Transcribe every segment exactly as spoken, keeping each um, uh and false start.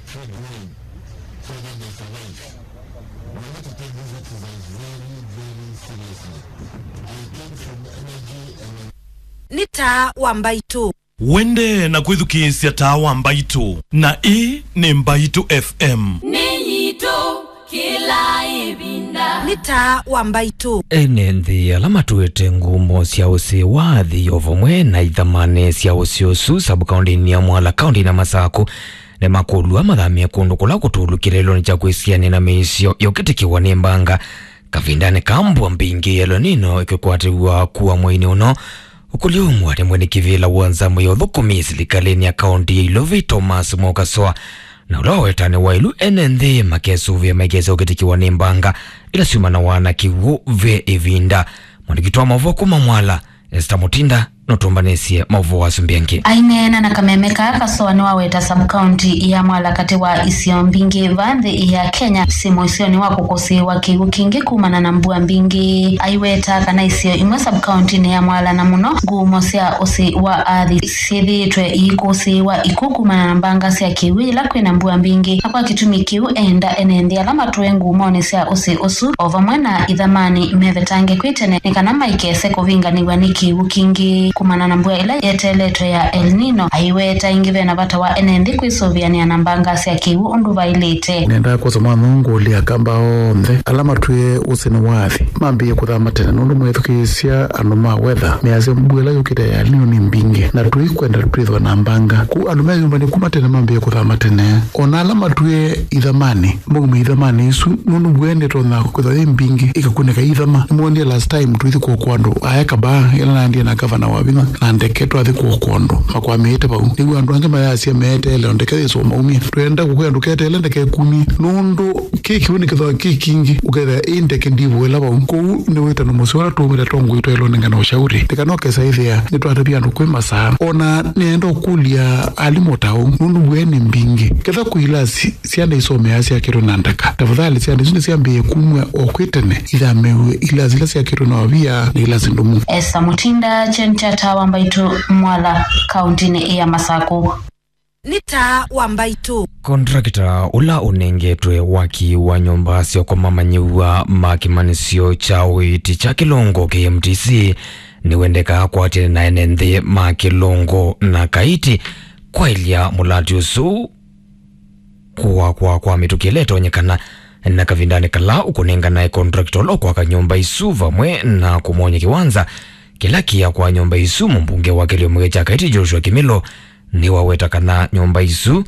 Fred Wine, Father Mister Life. We need to take these exercises very, very seriously. I came from energy and Nĩ taa wa Mbaitũ. Wende na kwĩthukĩĩsya taa wa Mbaitũ, na ĩĩ nĩ Mbaitũ F M. Nĩ yitũ kĩla ĩvinda. Nĩ taa wa Mbaitũ. Ene nthĩ ala matũĩte ngumo sya ũsĩ wa athi o vamwe na ithamanĩ sya ũsĩ ũsu sub-kaũntĩnĩ ya Mwala, kaũntĩnĩ ya Masakũ, nĩmakũlw'a mathamĩe kũndũ kũla kũtũlu kĩlelonĩ kya kwĩsianĩa na mĩisyo yũkĩtĩkĩwa nĩ mbanga kavindanĩ ka mbua mbingĩ ya El Nino ĩkĩkwatĩw'a kua mweinĩ ũno. Ũkũlyo ũmwe nĩ mwene kĩvĩla wa nzama ya ũthũkũmi silikalĩnĩ ya kaũntĩ ya Ilovi, Thomas Mwaũkasoa, na ũla wawetanĩ wa ĩlu ene nthĩ makesũvĩa maikesa ũkĩtĩkĩwa nĩ mbanga ila syumanawa na kĩw'ũ ve ĩvinda. Mwandĩki witũ wa maũvoo kuma Mwala, Esther Mutinda, nũtũmbanĩsye maũvoo asu mbingĩ. Aineena na kameme kaa, Kasoa nĩwaweta sub-county ya Mwala katĩ wa isio mbingĩ va nthĩ ya Kenya syĩ mũisyonĩ wa kũkũsĩĩwa kĩw'ũ kingĩ kumana na mbua mbingĩ. Aiweta kana isio imwe sub-county-nĩ ya Mwala, na mũno ngumo sya ũsĩ wa athi, syĩthĩĩtwe iikũsĩĩwa ikw'ũ kumana na mbanga sya kĩw'ũ yĩla kwĩna mbua mbingĩ, na kwa kĩtumi kĩu eenda ene nthĩ ala matũe ngumonĩ sya ũsĩ ũsu o vamwe na ithamanĩ mevetange kwĩ tene nĩ kana maikese kũvinganĩw'a nĩ kĩw'ũ kingĩ kumana na mbua ĩla yeteeletwe ya El Nino. Aiweta ĩngĩ vena vata wa ene nthĩ kwĩsũvĩanĩa na mbanga sya kĩw'ũ ũndũ vaĩlĩte. Nendaa kwosa mwana ũũ ngũlya Akamba onthe ala matwĩe ũsĩ nĩ wa athi mambĩĩe kũthama tene, nũndũ mwĩthukĩĩsya andũ ma weather measya mbua ĩla yũkĩte ya El Nino nĩ mbingĩ, na tũikwenda twĩthwa na mbanga. Kwoou andũ me nyũmbanĩ kuma tene mambĩĩe kũthama tene. O na ala matwĩe ithamanĩ, maume ithamanĩ isu, nũndũ mbua ĩno ĩtonya kwĩthwa yĩ mbingĩ ĩkakunĩka ithama. Nĩmwonie last time tũithi kũokoa andũ aeka baa, ĩla naendie na gavana wa vinya na ndeke twathi kũokoa andũ makwamĩĩte vau. Nĩw'o andũ angĩ mayasya meeteele o ndeke yĩsũa maumye. Twenda kũkwĩa ndũketeele ndeke ĩkumye, nũndũ kĩ kĩw'ũ nĩkĩthwa kĩ kingĩ, ũkethĩa ĩ ndeke ndivũĩla vau. Kwoou nĩ wĩtano mũseo ũla tũũmĩte tongoi twaĩlwe nengane ũshauri. Nĩ kana ũkesa ĩthĩa nĩtwatavya andũ kwĩ masaa. O na nĩenda ũkũlya alimũ ta ũu, nũndũ mbua nĩ mbingĩ. Ketha kwĩ ilasi syana isomeaa syakĩtwe na ndaka, tafadhali syana isu nĩsyambĩĩe kumw'a o kwĩ tene, ithamĩw'e ilasi ila syakĩtwe na wavia na ilasi ndũmu. Esther Mutinda, Chen Chata wa Mbaitũ, Mwala, kaũntĩnĩ ya Masakũ. Nĩ taa wa Mbaitũ. Contractor ũla ũnengetwe waki wa nyũmba sya kũmamanyĩw'a ma kĩmanyĩsyo kya ũiiti kya Kĩlongo, K M T C, nĩwendekaa kwatĩana na ene nthĩ ma Kĩlongo na Kaiti kwaĩlya mũlati ũsu kũakwa kwa mĩtũkĩ ĩla ĩtonyekana, na kavindanĩ kala ũkũnenganae contractor ũla ũkwaka nyũmba isu vamwe na kũmwony'a kĩwanza kĩla kĩakwa nyũmba isu. Mũmbunge wa kĩlĩo mũya kya Kaiti, Joshua Kimilo, nĩwaweta kana nyũmba isu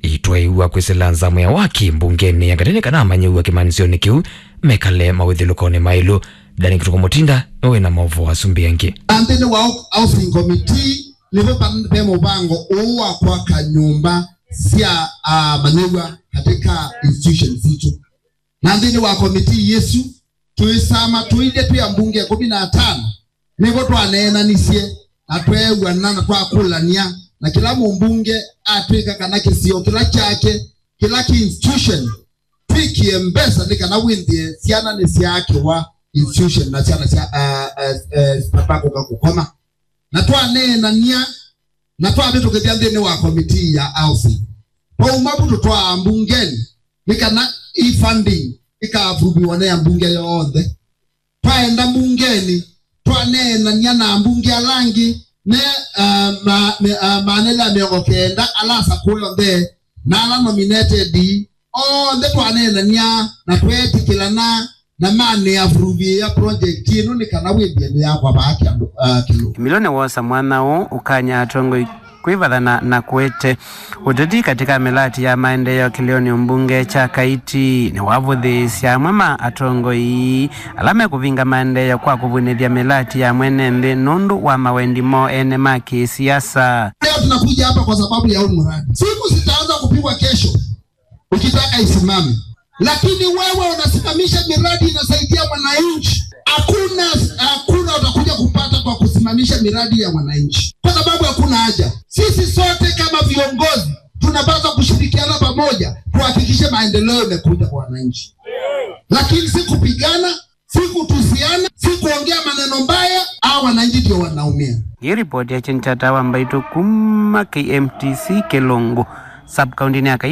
itwaĩwa kwĩsĩla nzamũ ya waki mbungenĩ ya katĩ nĩ kana amanyĩw'a kĩmanyĩsyonĩ kĩu mekale mawĩthyũlũkonĩ maĩlu. Dani Kĩtũkũ Mũtinda nĩwe wĩ na maũvoo asu mbingĩ. Na nthĩnĩ wa housing committee nĩvo pa-, ve mũvango ũũ wa kwaka nyũmba sya, ah, amanyĩw'a katika institutions sitũ. Na nthĩnĩ wa committee yĩsu, tũisama tũilye twĩ ambunge ĩkũmi na atano, nĩvo twaneenanisye na tweew'ana na twakũlany'a, na kĩla mũmbunge atw'ĩka kana kĩsio kĩla kyake, kĩla kĩ institution, twĩkĩe mbesa nĩ kana wĩthĩe syana nĩsyaakĩwa institution na syana sya, uh, uh, uh, sitakũka kũkoma. Na twaneenany'a na twavĩtũkĩthya nthĩnĩ wa komitii ya housing. Twauma vu tũtwaa mbungenĩ nĩ kana ĩ funding ĩkaavuviwa nĩ ambunge yonthe. Twaenda mbungenĩ, twaneenany'a na ambunge ala angĩ me, uh, ma, me, uh, maana ĩla mĩongo kenda ala asakũe onthe na ala nominated, onthe twaneenany'a na tweetĩkĩlana na manĩavuruvĩĩa project ĩno nĩ kana wĩthĩe nĩyakwa vaa kĩandũ, uh, kĩlũ. Kimilo nĩwosa mwanya ũũ ũkany'a atongoi kwĩvathana na kũete ũteti katika mĩlati ya maendeeo kĩlĩonĩ mbunge kya Kaiti. Nĩwavũthĩĩsya amwe ma atongoi ala mekũvinga maendeeo kwa kũvunĩthya mĩlati ya mwene nthĩ nũndũ wa mawendi moo ene ma kĩsiasa. Leo tunakuja hapa kwa sababu ya huu mradi. Simu zitaanza kupigwa kesho ukitaka isimame. Lakini wewe unasimamisha miradi inasaidia mwananchi. Hakuna, hakuna utakuja kupata kwa kusimamisha miradi ya mwananchi. Kwa sababu hakuna haja. Sisi sote kama viongozi tunapaswa kushirikiana pamoja tuhakikishe maendeleo imekuja kwa wananchi. Lakini si kupigana, si kutusiana, si kuongea maneno mbaya, hao wananchi ndio wanaumia. Hii ripoti ya Chenchata wa Mbaitũ kuma K M T C Kĩlũngũ, sub-county ya Kaiti.